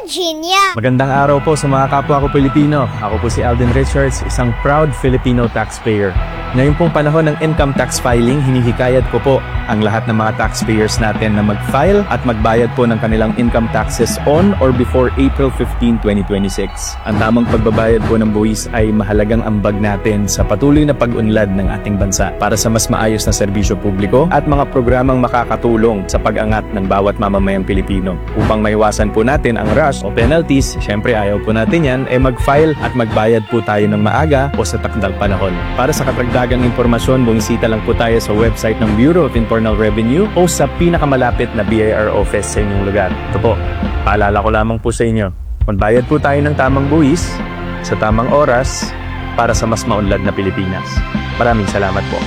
Virginia. Magandang araw po sa mga kapwa ko Pilipino. Ako po si Alden Richards, isang proud Filipino taxpayer. Ngayon pong panahon ng income tax filing, hinihikayat ko po ang lahat ng mga taxpayers natin na mag-file at magbayad po ng kanilang income taxes on or before April 15, 2026. Ang tamang pagbabayad po ng buwis ay mahalagang ambag natin sa patuloy na pag-unlad ng ating bansa para sa mas maayos na serbisyo publiko at mga programang makakatulong sa pag-angat ng bawat mamamayang Pilipino. Upang maiwasan po natin ang rush o penalties, syempre ayaw po natin yan, eh mag-file at magbayad po tayo ng maaga o sa takdang panahon. Para sa karagdagang impormasyon, bumisita lang po tayo sa website ng Bureau of Internal Revenue o sa pinakamalapit na BIR office sa inyong lugar. Ito po, paalala ko lamang po sa inyo, magbayad po tayo ng tamang buwis sa tamang oras para sa mas maunlad na Pilipinas. Maraming salamat po.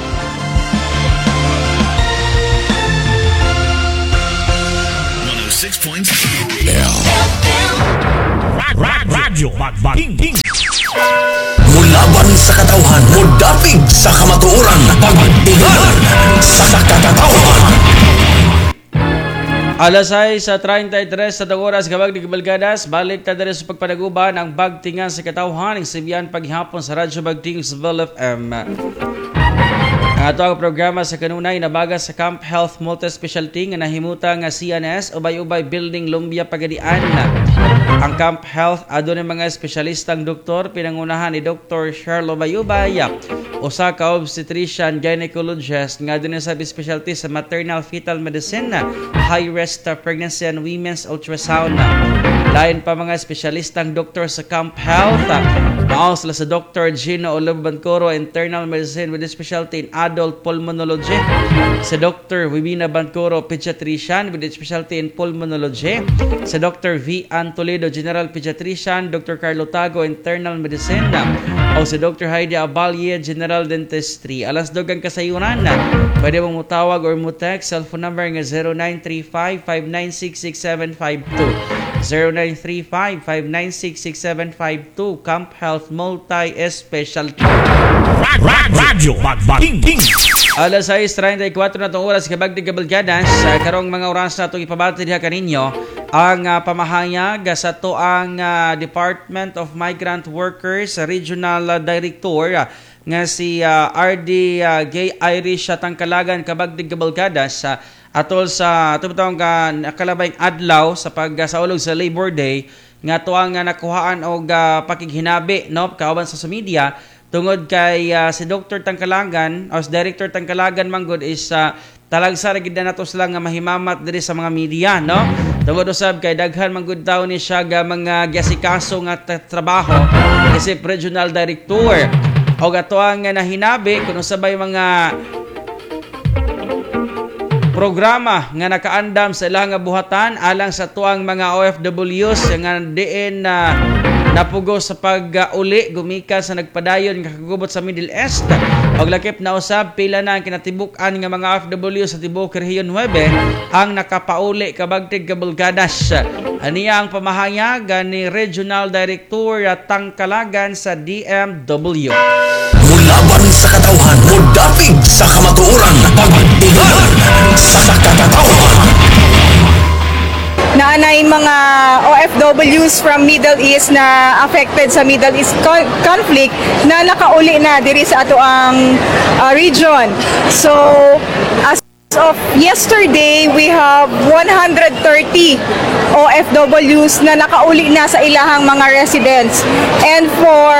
106.7. Radyo Magbaging. Mulaban sa katawhan, mudapig sa kamatuoran, pagtingan sa katawhan. Alas 6:33 sa oras, kabag ni Kabalgadas, balik ta diri sa pagpanaguban ang Bagtingan sa Katawhan ang Sibian paghapon sa Radyo Bagting sa FM. Ang ato ang programa sa kanunay nabaga sa Camp Health Multi-Specialty nga nahimuta nga CNS Ubay-Ubay Building, Lumbia, Pagadian. Ang Camp Health adunay mga espesyalistang doktor pinangunahan ni Dr. Charlo Bayubay, usa ka obstetrician gynecologist nga adunay sa specialty sa maternal fetal medicine, high risk pregnancy and women's ultrasound. Lain pa mga espesyalistang doktor sa Camp Health. Mao sila sa Dr. Gino Olobo Bancoro, Internal Medicine with specialty in Adult Pulmonology. Sa Dr. Wibina Bancoro, Pediatrician with specialty in Pulmonology. Sa Dr. V. Ann Toledo, General Pediatrician. Dr. Carlo Tago, Internal Medicine. O si Dr. Heidi Abalye, General Dentistry. Alas 2 ang kasayuran. Pwede mo mutawag or mo text cellphone number nga 0935-596-6752. 0935-596-6752. Camp Health Multi-Specialty. Radyo Magbaging. Alas 6:34 na itong oras, kabagdig kabalgadas, sa karong mga oras na itong ipabati diha kaninyo ang pamahayag sa tuang Department of Migrant Workers Regional Director nga si RD Gay Irish Tangkalagan, kabagdig kabalgadas, atol sa tubtong nakalabay adlaw sa pagsaulog sa Labor Day nga tuang nakuhaan og pakighinabi, no, kauban sa media tungod kay si Dr. Tangkalagan o si Director Tangkalagan manggod is talagsa ra gid na nato sila nga mahimamat diri sa mga media, no, tungod usab kay daghan manggod tawo ni siya ga mga giasikaso nga trabaho isip regional director og ato ang nahinabi kun usabay mga programa nga nakaandam sa ilang nga buhatan alang sa tuang mga OFWs nga diin na napugos sa pag-uli gumikan sa nagpadayon nga kagubot sa Middle East. Og lakip na usab pila na ang kinatibuk-an nga mga OFW sa tibuok Rehiyon 9 ang nakapauli, kabagtig kabulgadas. Aniya ang pamahayag ni Regional Director Tangkalagan sa DMW. Mulaban sa katawhan, mudapig sa kamatuoran, pagtingan sa katawhan. Naanay mga OFWs from Middle East na affected sa Middle East conflict na nakauli na diri sa ato ang region. So as of yesterday, we have 130 OFWs na nakauli na sa ilahang mga residents. And for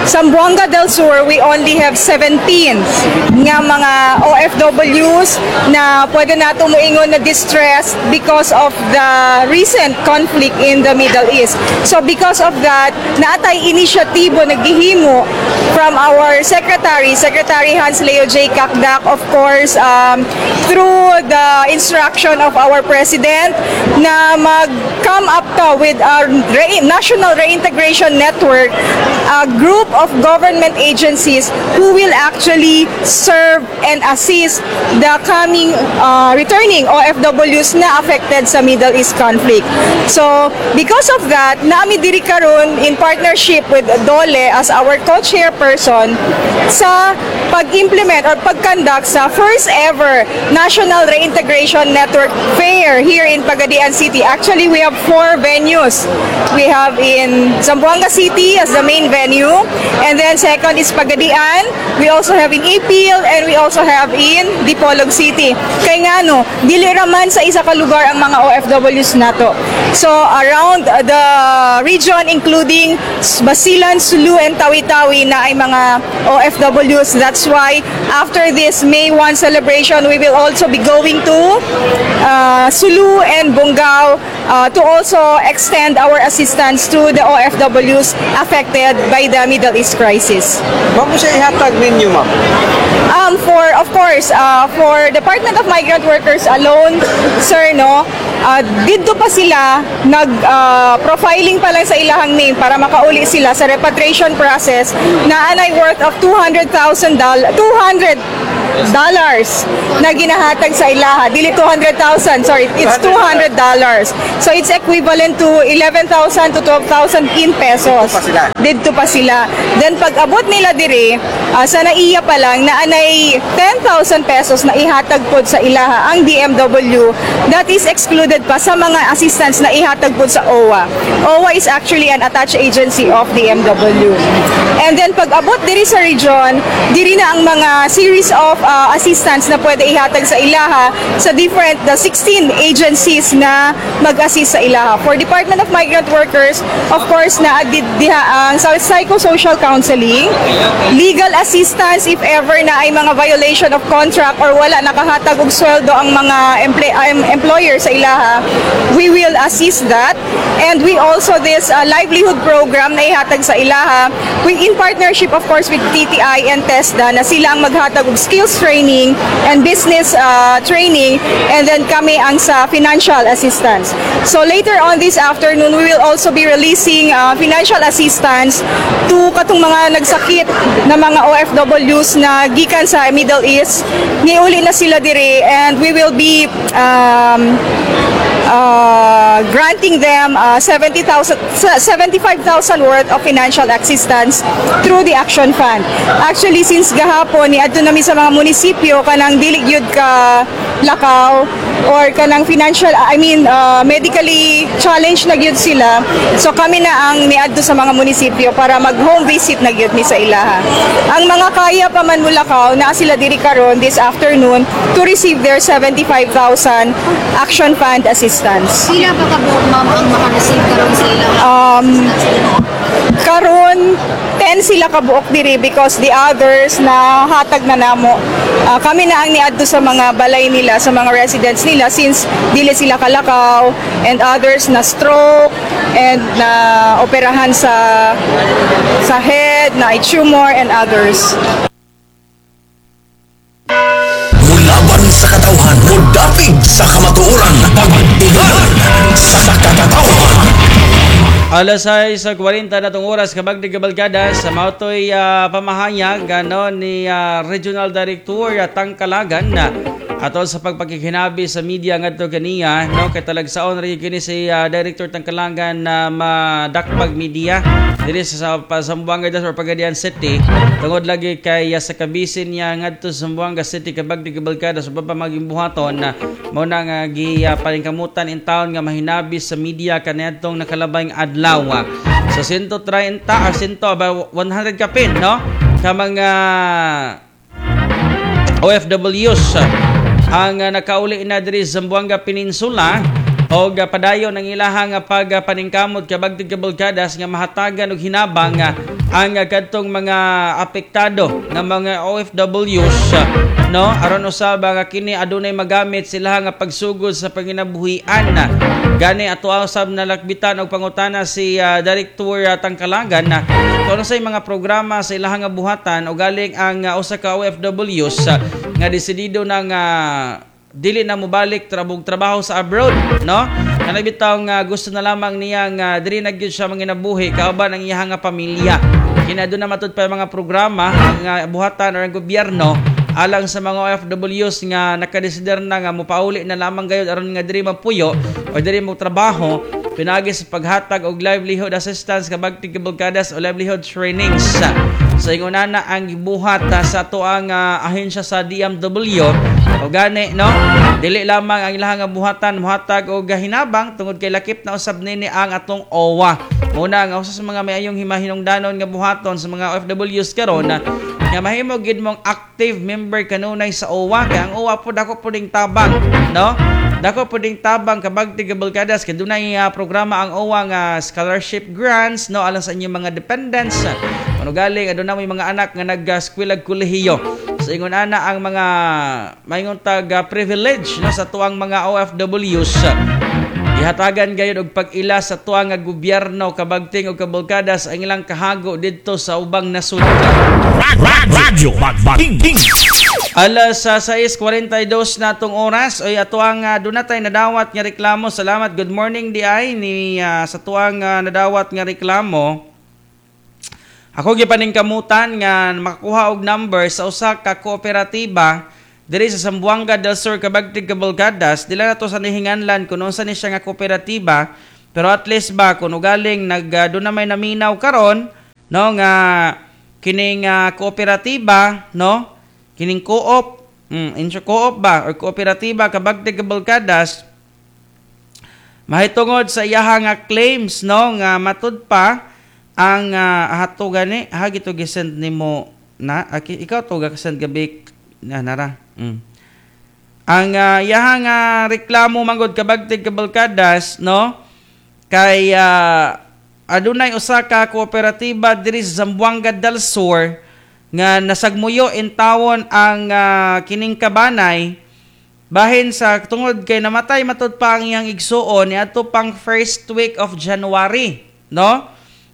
Zamboanga del Sur, we only have 17 nga mga OFWs na pwede nato moingon na distressed because of the recent conflict in the Middle East. So because of that, naatay inisyatibo naghihimo from our Secretary, Secretary Hans Leo J. Cacdac, of course, through the instruction of our President na mag-come up to with our National Reintegration Network. a group of government agencies who will actually serve and assist the coming returning OFWs na affected sa Middle East conflict. So, because of that, naa mi diri karon in partnership with DOLE as our co-chairperson sa pag-implement or pag-conduct sa first ever National Reintegration Network Fair here in Pagadian City. Actually, we have four venues. We have in Zamboanga City as the main venue, and then second is Pagadian. We also have in Ipil, and we also have in Dipolog City. Kay ngano, dili raman sa isa ka lugar ang mga OFWs nato. So around the region, including Basilan, Sulu, and Tawi-Tawi naay mga OFWs. That's why after this May 1 celebration, we will also be going to Sulu and Bongao to also extend our assistance to the OFWs affected by the Middle East crisis. Ma'am, siya ihatag ninyo, ma'am? For of course, for Department of Migrant Workers alone, sir, no, didto pa sila nag profiling pa lang sa ilahang name para makauli sila sa repatriation process na anay worth of $200,000, $200 na ginahatag sa ilaha. Dili 200,000, sorry, it's $200. So it's equivalent to 11,000 to 12,000 in pesos. Didto pa sila. Didto pa sila. Then pag abot nila dire, sa naiya pa lang na anay 10,000 pesos na ihatag pod sa ilaha ang DMW, that is excluded pa sa mga assistance na ihatag pod sa OWWA. OWWA is actually an attached agency of DMW. And then pag abot diri sa region, diri na ang mga series of assistance na pwede ihatag sa ilaha sa different the 16 agencies na mag-assist sa ilaha. For Department of Migrant Workers, of course, na diha ang psychosocial counseling, legal assistance if ever naay mga violation of contract or wala nakahatag og sweldo ang mga employer sa ilaha, we will assist that. And we also this livelihood program na ihatag sa ilaha, we in partnership, of course, with DTI and TESDA na sila ang maghatag og skills training and business training, and then kami ang sa financial assistance. So later on this afternoon, we will also be releasing financial assistance to katong mga nagsakit na mga OFWs na gikan sa Middle East. Niuli na sila dire and we will be granting them 70,000, 75,000 worth of financial assistance through the Action Fund. Actually, since gahapon, niadto nami sa mga munisipyo kanang dili gyud ka lakaw or kanang financial, I mean, medically challenged na gyud sila. So kami na ang niadto sa mga munisipyo para mag home visit na gyud mi sa ilaha. Ang mga kaya pa man mulakaw, naa sila diri karon this afternoon to receive their 75,000 Action Fund assistance. Pila ba kabuok, ma'am, ang maka-receive karon sa ilang Karon 10 sila kabuok diri because the others na hatag na namo. Kami na ang niadto sa mga balay nila, sa mga residents nila, since dili sila kalakaw, and others na stroke and na operahan sa head, na tumor and others. Mulaban sa katawhan, mudapig sa kamatuoran, pagtingan sa katawhan. Alas 6:40 na tong oras, kabagdig kabalkada, sa mautoy pamahayag ano ni Regional Director Tangkalagan na ato sa pagpakikinabi sa media ngadto kaniya, no, kay talagsaon rin kini si Director Tangkalagan na madakpag media diri sa Zamboanga del Sur, Pagadian City, tungod lagi kay sa kabisin niya ngadto sa Zamboanga City, kabagdig kabalkada, sa pa maging buhaton na mao na nga gi paningkamutan in town nga mahinabi sa media kaniadtong nakalabay adlaw. Sa 130 or 100 ba 100 kapin, no, ka mga OFWs ang nakauli na diri sa Zamboanga Peninsula og padayon ang ilahang pagpaningkamot, kabagtig kabalkadas, nga mahatagan og hinabang ang kadtong mga apektado nga mga OFWs, no, aron usab nga kini adunay magamit sila nga pagsugod sa panginabuhian. Gani ato usab nalakbitan og pangutana si Director Tangkalagan na kung ano sa mga programa sa ilahang nga buhatan o galing ang usa ka OFWs nga desidido na nga dili na mobalik trabog trabaho sa abroad, no, kanang bitaw nga gusto na lamang niya nga diri na gyud siya manginabuhi kauban ang iyang nga pamilya. Kina na matud pa mga programa ang buhatan or ang gobyerno alang sa mga OFWs nga nakadesider na nga mopauli na lamang gayud aron nga diri mapuyo o diri mo trabaho pinaagi sa paghatag og livelihood assistance, kabagtig kabalkadas, o livelihood trainings. Sa ingon na ang gibuhat sa atoang ahensya sa DMW. O gani, no, dili lamang ang ilahang nga buhatan muhatag og hinabang tungod kay lakip na usab nini ang atong OWWA. Muna nga usa sa mga may-ayong himahinungdanon nga buhaton sa mga OFWs karon na nga mahimo gid mong active member kanunay sa OWWA, kay ang OWWA po dako po ding tabang, no? Dako po ding tabang, kabagtig kabalkadas, kay dunay programa ang OWWA nga scholarship grants, no, alang sa inyong mga dependents. Ano galing aduna may mga anak nga nag-eskwelag kolehiyo. So ingon ana ang mga maingon tag privilege, no, sa tuang mga OFWs. Ihatagan gayud og pag-ila sa tuang nga gobyerno, kabagting og kabalkadas, ang ilang kahago didto sa ubang nasud. Radyo Bagbating. Alas sa 6:42 na atong oras oy, ato ang doon tay nadawat nga reklamo. Salamat, good morning di ay ni sa tuang nadawat nga reklamo. Ako gipaningkamutan nga makakuha og number sa usa ka kooperatiba diri sa Zamboanga del Sur, kabagtig kabalkadas. Dili na to sa nihinganlan kung unsa ni siya nga kooperatiba, pero at least ba kung ugaling nag doon na may naminaw karon, no, nga kining kooperatiba, no, kining co-op, intro co-op ba or kooperatiba, kabagtig kabalkadas, mahitungod sa iyaha nga claims, no, nga matud pa ang hato gani ha gito gisend nimo na aki, ikaw to ga send gabi na nara. Ang iyaha nga reklamo manggod, kabagtig kabalkadas, no, kay adunay usa ka kooperatiba diri sa Zamboanga del Sur nga nasagmuyo intawon ang kining kabanay bahin sa tungod kay namatay matud pa ang iyang igsuon niadto pang first week of January, no?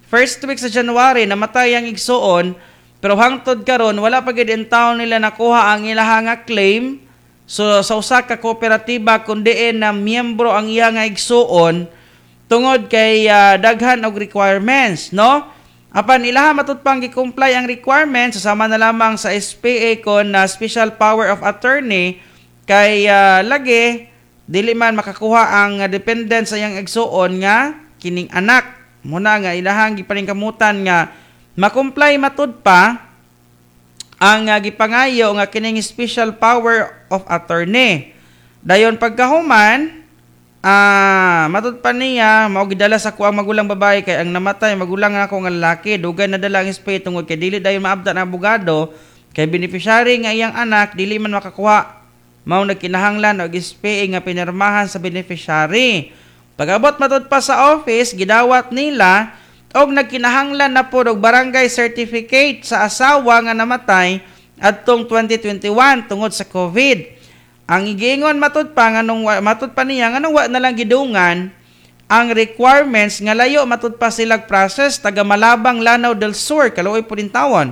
First week sa January namatay ang igsuon, pero hangtod karon wala pa gid intawon nila nakuha ang ilaha nga claim. So sa usa ka kooperatiba kun diin na miyembro ang iya nga igsuon tungod kay daghan og requirements, no? Apan ilaha matud pang gi-comply ang requirements sama na lamang sa SPA kon na special power of attorney, kay lagi dili man makakuha ang dependent sa iyang igsuon nga kining anak. Muna nga ilahang gipaningkamutan nga ma-comply matud pa ang gipangayo nga kining special power of attorney. Dayon pagkahuman, matud pa niya mao gidala sa kuang magulang babae kay ang namatay magulang ako nga lalaki. Dugay nadala ang SPA tungod kay dili dayon maabdan ang abogado kay beneficiary nga iyang anak dili man makakuha, mao nagkinahanglan og SPA nga pinirmahan sa beneficiary. Pag-abot matud pa sa office, gidawat nila og nagkinahanglan na pod og barangay certificate sa asawa nga namatay adtong 2021 tungod sa COVID. Ang giingon matud pa nganong matud pa niya nganong wa na lang gidungan ang requirements nga layo matud pa silag process, taga Malabang, Lanao del Sur, kaluoy po din tawon.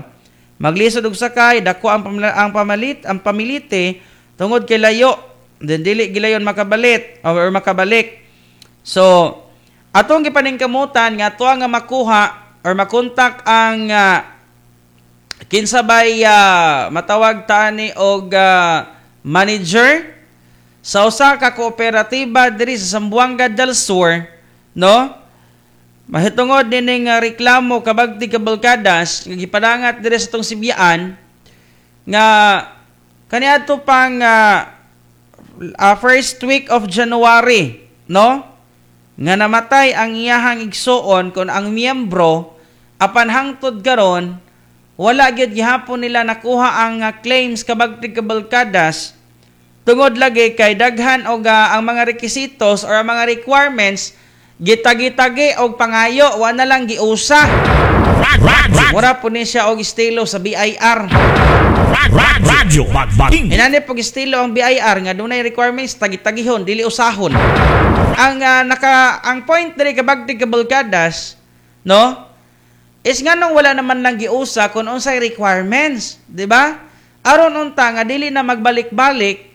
Maglisod og sakay, dako ang pamalit ang pamilite tungod kay layo, then dili gilayon makabalit or makabalik. So atong gipaningkamutan nga ato nga makuha or makontak ang kinsa bay matawag tani og manager sa usa ka kooperatiba diri sa Zamboanga del Sur, no, mahitungod nining reklamo, kabagti kabalkadas, nga gipadangat diri sa tong Sibyaan nga kaniadto pang first week of January, no, nga namatay ang iyahang igsuon kon ang miyembro, apan hangtod karon wala gyud gihapon nila nakuha ang claims, kabagtig kabalkadas, tungod lagi kay daghan og ang mga requisitos or ang mga requirements gitagi-tagi og pangayo, wa na lang giusa. Mura po ni siya og estilo sa BIR. Radyo Bagbating. Inani pog estilo ang BIR nga dunay requirements tagi-tagihon, dili usahon. Ang naka ang point diri, kabagtig kabalkadas, no, is nganong wala naman lang giusa kung unsay requirements, di ba? Aron unta nga dili na magbalik-balik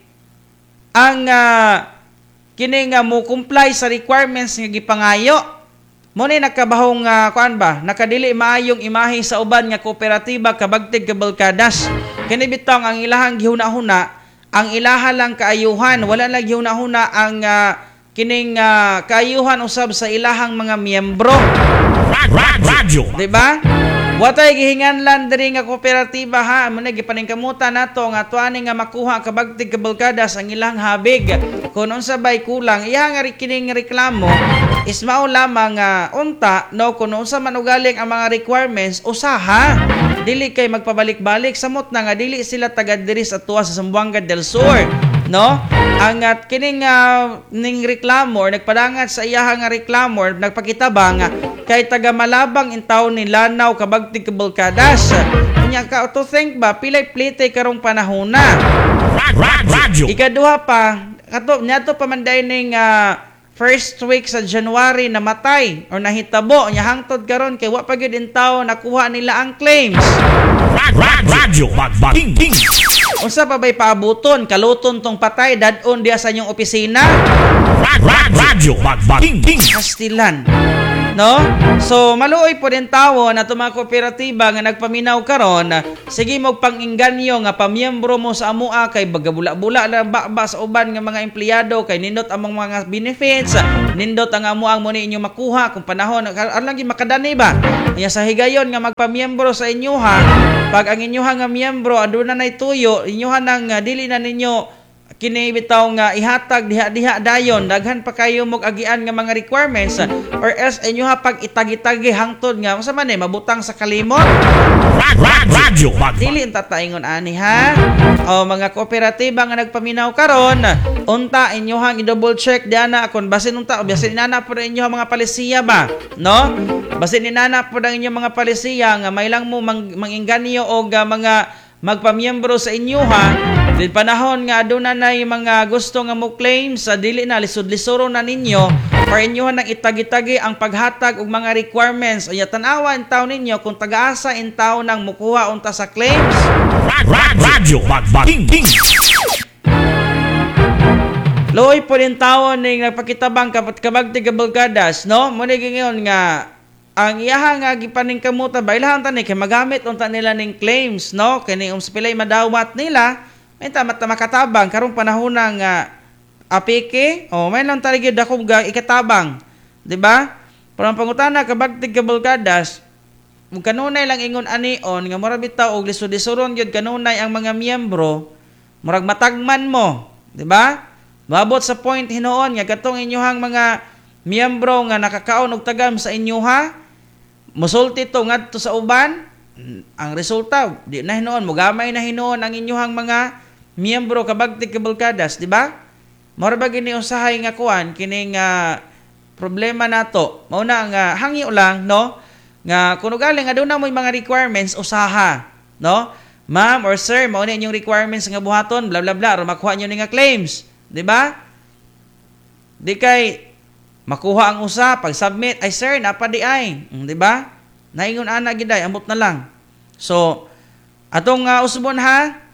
ang kini nga mo comply sa requirements nga gipangayo. Mo ni nakabahong kuan ba, nakadili maayong imahe sa uban nga kooperatiba, kabagtig kabalkadas. Kini bitong ang ilahang gihuna-huna, ang ilaha lang kaayuhan, wala lang gihuna-huna ang kining kaayuhan usab sa ilahang mga miyembro. Radyo. Di ba? Watay gihinganlan diri nga kooperatiba ha, mo na gipaningkamutan nato nga tuani nga makuha kabagtig kabalkadas ang ilang habig. Kung unsa bay kulang, iya nga kining reklamo is mao lamang nga unta no kung unsa man ugaling ang mga requirements usaha. Dili kay magpabalik-balik, samot na nga dili sila taga diri sa tuwa sa Zamboanga del Sur, no? Ang at kining ning reklamo or nagpadangat sa iyaha nga reklamo or nagpakitabang kay taga Malabang intaw ni Lanao kabagtig kabalkadas. Unya ka to think ba pilay plite karong panahona. Radyo. Ikaduha pa kato niadto pa man day ning first week sa January namatay or nahitabo, nya hangtod karon kay wa pa gyud intaw nakuha nila ang claims. Radyo Bagbating. Unsa pa bay paabuton, kaluton tong patay dadon diha sa inyong opisina? Radyo Bagbating. Kastilan. No? So maluoy po din tawo na itong mga kooperatiba nga nagpaminaw karon, sige mo pang-inganyo nga pamiyembro mo sa amua kay bagabula-bula lang ba sa uban nga mga empleyado kay nindot among mga benefits, nindot ang amuang mo ni inyo makuha kung panahon aron lang gyud makadani ba. Kaya sa higayon nga magpamiyembro sa inyo ha, pag ang inyo nga miyembro aduna nay tuyo, inyo nang dili na ninyo kini bitaw nga ihatag diha-diha dayon, daghan pa kayo mog agian nga mga requirements or else inyo ha pag itagi-tagi hangtod nga unsa man mabutang sa kalimot. Radyo. Dili unta taingon ani ha. O mga kooperatiba nga nagpaminaw karon, unta inyo hang i-double check diana kon basin unta basin inana pud inyo mga palisiya ba, no? Basin inana pud ang inyong mga palisiya nga may lang mo mangingganyo og mga magpamiyembro sa inyo ha. Din panahon nga aduna nay mga gusto nga mo claim sa dili na lisod-lisoro na ninyo or inyo nang itagi-tagi ang paghatag og mga requirements. Unya tan-awa in taon ninyo kung tagaasa in taon nang mukuha unta sa claims. Radyo Bagbating. Luoy po din taon ning nagpakitabang kabagtig kabalkadas, no? Mo ni giingon nga ang iyaha nga gipaningkamutan ba ilahang tani kay magamit unta nila ning claims, no? Kini pilay madawat nila may tama ta makatabang karong panahon nga apike o may lang tali gyud dako ga ikatabang, di ba? Pero ang pangutana kabagtig kabalkadas, ug kanunay lang ingon anion nga mura bitaw og lisod-lisoron gyud kanunay ang mga miyembro, murag matagman mo, di ba? Maabot sa point hinuon nga katong inyohang mga miyembro nga nakakaon og tagam sa inyoha, musulti to ngadto sa uban, ang resulta di na hinuon mugamay na hinuon ang inyohang mga miyembro kabagtig kabalkadas, di ba? Mura ba gini usahay nga kuan kining problema nato. Mao na nga hangyo lang, no? Nga kuno galing aduna moy mga requirements usaha, no? Ma'am or sir, mao ni inyong requirements nga buhaton, bla bla bla, aron makuha niyo ni nga claims, di ba? Di kay makuha ang usa pag submit, ay sir, napadi ay, di ba? Naingon ana gid ay, ambot na lang. So atong usbon ha,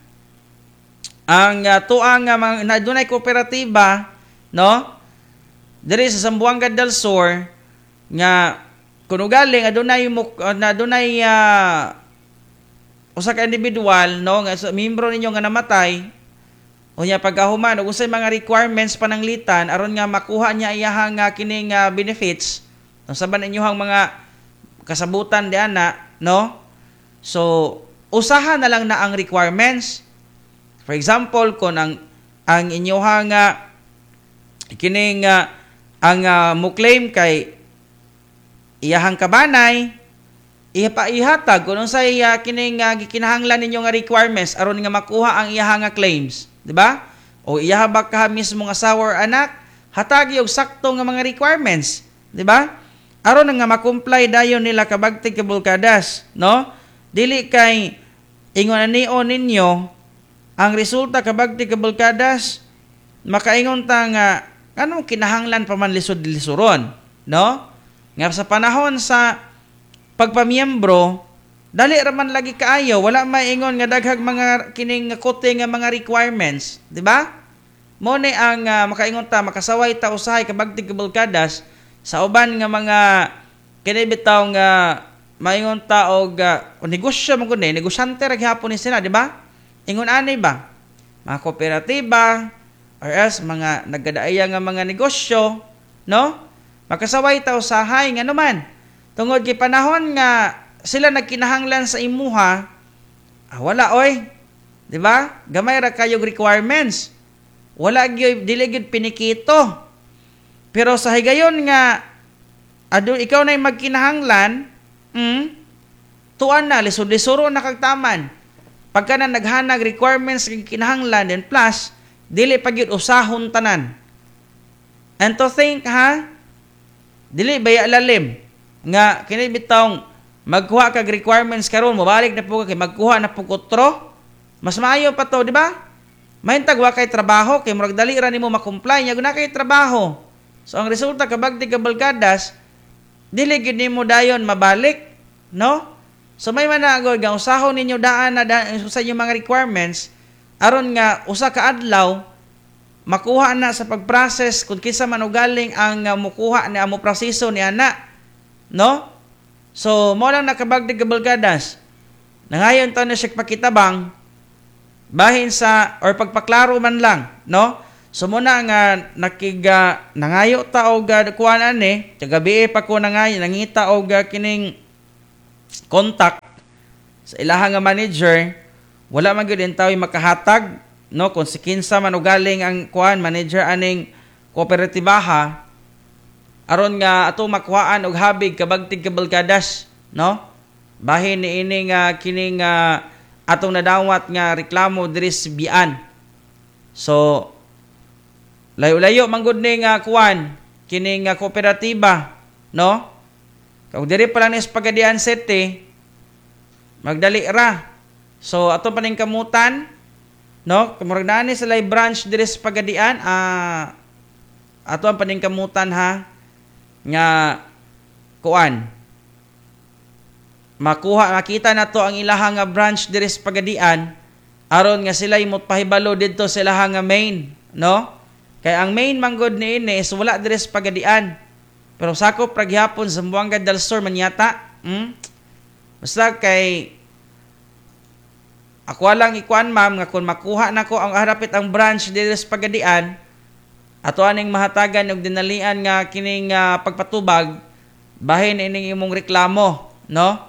ang tuang nga dunay kooperatiba, no? Diri sa Zamboanga del Sur nga kuno galing adunay adunay usa ka individual, no, nga miyembro ninyo nga namatay, unya pagkahuman ug unsay mga requirements pananglitan aron nga makuha niya iyahang kining benefits, unsa ba ninyohang mga kasabutan diana, no? So usaha na lang na ang requirements. For example, kung ang inyohang kining ang mo claim kay iyahang kabanay, ihatag kung unsay kining gikinahanglan ninyo nga requirements aron nga makuha ang iyahang nga claims, di ba? O iyaha ba ka mismo nga asawa or anak, hatagi og sakto nga mga requirements, di ba? Aron nga ma-comply dayon nila kabagtig kabalkadas, no? Dili kay ingon ani ninyo ang resulta kabagtig kabalkadas, makaingon ta nga anong kinahanglan pa man lisod-lisuron, no? Nga sa panahon sa pagpamiyembro, dali ra man lagi kaayo, wala maingon nga daghag mga kining kote nga mga requirements, di ba? Mo ni ang makaingon ta makasaway ta usahay kabagtig kabalkadas sa uban nga mga Kini bitaw nga maingon ta og negosyo man gud ni, negosyante ra gihapon ni sila, di ba? Ingon ani ba? Mga kooperatiba or else mga nagadaaya nga mga negosyo, no? Makasaway ta usahay, ngano man tungod kay panahon nga sila nagkinahanglan sa imuha, wala oy. Di ba? Gamay ra kayog requirements. Wala gyud, dili gyud pinikito. Pero sa higayon nga ado ikaw na magkinahanglan, tuan na lisod-lisuro na kag taman. Pagka na naghanag requirements kag kinahanglan, then plus dili pa gyud usahon tanan. And to think ha, dili baya lalim nga kini bitawng magkuha kag requirements karon, mobalik na po ka kay magkuha na po kutro. Mas maayo pa to, di ba? Mahintag wa kay trabaho kay murag dali ra nimo ma-comply nya guna kay trabaho. So ang resulta, kabagti kabalkadas, dili gyud nimo dayon mabalik, no? So may managod nga usahon ninyo daan na daan sa inyong mga requirements aron nga usa ka adlaw makuha na sa pag-process kung kinsa man ugaling ang mukuha ni amo proseso ni ana, no? So mo lang nakabagdi kabalkadas. Nangayon ta na siya pakitabang bahin sa or pagpaklaro man lang, no? So muna nga nakiga nangayo ta og kuan ani, kagabi pa ko nangayo nangita og kining contact sa ilaha nga manager, wala man gyud tawo makahatag, no, kung si kinsa man ugaling ang kuan manager aning kooperatibaha aron nga ato makuhaan og habig, kabagtig kabalkadas, no? Bahin ni ini nga kining atong nadawat nga reklamo diri sa Bian. So layo-layo man gud ni nga kuan kining nga kooperatiba, no? Kag diri pa lang ni sa Pagadian City, magdali ra. So ato pa ning kamutan, no? Murag naa ni sila branch diri sa Pagadian, ato ang paningkamutan ha nga kuan makuha makita na to ang ilaha nga branch diri sa Pagadian aron nga sila imot pahibalo didto sa ilaha nga main, no? Kay ang main manggod niini is wala diri sa Pagadian. Pero sakop ra gihapon sa Zamboanga del Sur man yata. Basta kay ako lang ikuan, ma'am, nga kung makuha nako ang harapit ang branch diri sa Pagadian, ato aning mahatagan og dinalian nga kining pagpatubag bahin ining imong reklamo, no?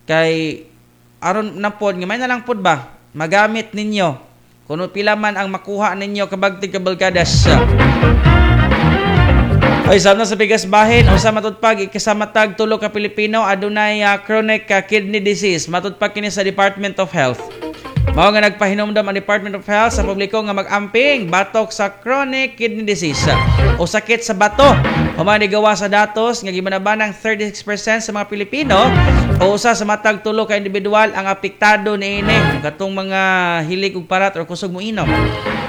Kay aron na pod nga may na lang pod ba magamit ninyo kuno pila man ang makuha ninyo, kabagtig kabalkadas. Ay, sama sa bigas bahin usa matud pag ikasamatag tulo ka Pilipino adunay chronic kidney disease, matud pa kini sa Department of Health. Mao nga nagpahinumdom ang Department of Health sa publiko nga mag-amping batok sa chronic kidney disease o sakit sa bato. Human gawa sa datos nga gimanabanang 36% sa mga Pilipino o usa sa matag tulo ka individual ang apektado niini, katong mga hilig og parat or kusog mo inom.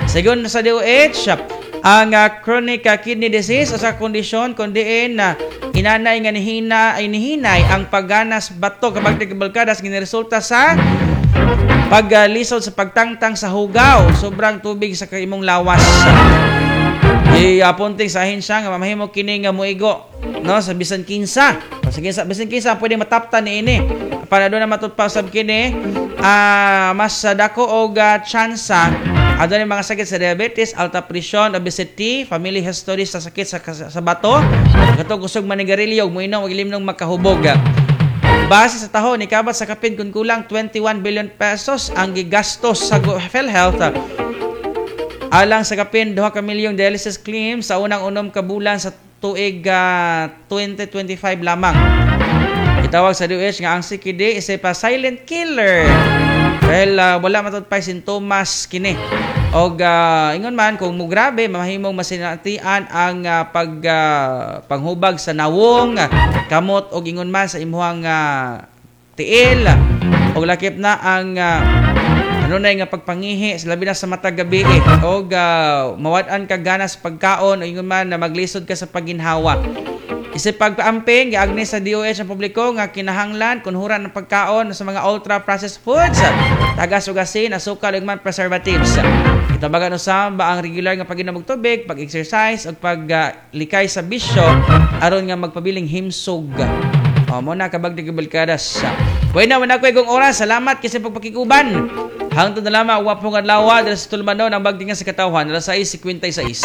Sigon sa DOH, ang chronic kidney disease usa ka kondisyon kun diin na inanay nga nihina ay nihinay ang pagganas bato, kapag nagbalkadas, gineresulta sa paglisod sa pagtangtang sa hugaw, sobrang tubig sa imong lawas. Iapunting sa ahensya nga mamahimo kini nga muigo, no, sa bisan kinsa. Sa kinsa, bisan kinsa pwede mataptan niini. Para doon na matutpa sab kini, mas dako og tsansa adunay mga sakit sa diabetes, alta presyon, obesity, family history sa sakit sa bato, katong kusog manigarilyo ug moinom og ilimnong makahubog. Base sa taho, nikabat sa kapin kung kulang 21 billion pesos ang gigastos sa PhilHealth alang sa kapin 2 ka milyong dialysis claims sa unang 6 ka bulan sa tuig 2025 lamang. Itawag sa DOH nga ang CKD isa pa silent killer dahil wala matutpay sintomas kini. Og ingon man kung mugrabe mamahimong masinatian ang panghubag sa nawong, kamot og ingon man sa imuhang tiil og lakip na ang anunay nga pagpangihi sa labi na sa matag gabi og mawad-an ka ganas pagkaon o ingon man na maglisod ka sa paginhawa. Isip pagpaamping, giagni sa DOH ang publiko nga kinahanglan kunhuran ng pagkaon sa mga ultra processed foods, tagas ug asin, asukal ug man preservatives. Gitabagan usab ang regular nga pag-inom og tubig, pag-exercise ug paglikay sa bisyo aron nga magpabiling himsog. O, mao na, kabag gibalkadas. Bueno, wala ko igong oras. Salamat kasi pagpakikuban. Hangtod na lamang, wapong adlaw diri sa tulumanon ang Bagtingan sa Katawhan, alas 6:56.